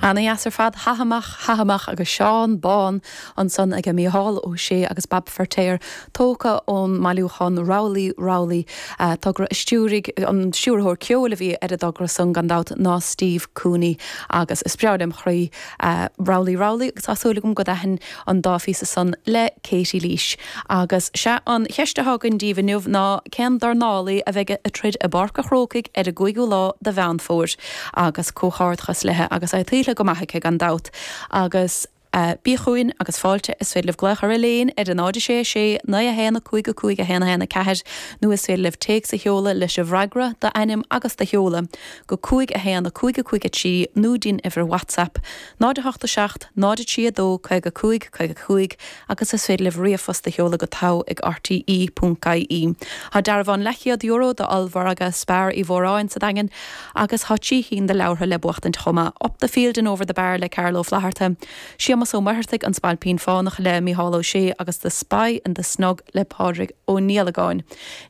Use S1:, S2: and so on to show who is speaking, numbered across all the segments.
S1: Ana dheas ar fad, Hath amach, hath amach agus Seán Bán ansan aige Mícheál Ó Sé agus Bab Feirtéar tógtha ón mbailiúchán Rowley Rowley, togra a stiúraigh an stiúrthóir ceoil a bhí ar an dtogra san gan dabht ná Steve Cooney agus is breá lem chroí Rowley Rowley agus tá súil agam go dtaithin an dá phíosa san le Katie Leash. Agus sea, an cheist atá againn daoibh inniu ná cén dornálaí a bheidh ag troid i bPáirc a' Chrócaigh ar an gcúigiú lá de Mheán Fómhair? Agus comhghairdeachas léithe agus é tuillte go maith aici gan dabht. Agus bí chugainn agus fáilte, is féidir libh glaoch ar Elaine ar a 0 6 6 9 1 5 5 1 1 4 nó is féidir libh téacs a sheoladh leis an bhfreagra, d'ainm agus do sheoladh, go 5 1 5 5 3 nó dtí'n uimhir WhatsApp, 0 8 7 0 3 2 55 55 agus is féidir libh ríomhphost a sheoladh go togha ag rte ponc ie. Tá dearbhán leathchéad euro d'ollmhargadh Spar Uí Mhóráin sa Daingean agus tá 3 chinn de leabhartha le buachtaint chomh maith, Up the Field and Over the Bar le Carl Ó Flaithearta, Séamus Ó Muircheartaigh, An Spailpín Fánach le Mícheál Ó Sé agus The Spy in the Snug le Pádraig Ó Niallagáin.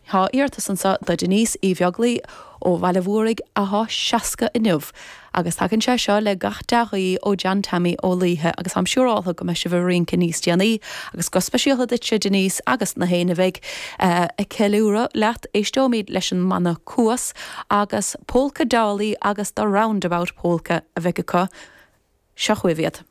S1: Tá iarratas anseo do Denise Uí Bheaglaoi ó Bhaile Mhúraigh athá 60 inniu. Agus tagann sé seo le gach dea-ghuí ó John Tommy Ó Laoithe agus táim siúráltha go mbeidh sibh ag rince níos déanaí agus go speisialta duitse Denise agus na héinne a bheidh ag ceiliúradh leat. Éisteoimid leis an mbanna Cuas agus Polca Dolly agus The Roundabout Polka a bheidh acu. Seo chugaibh iad.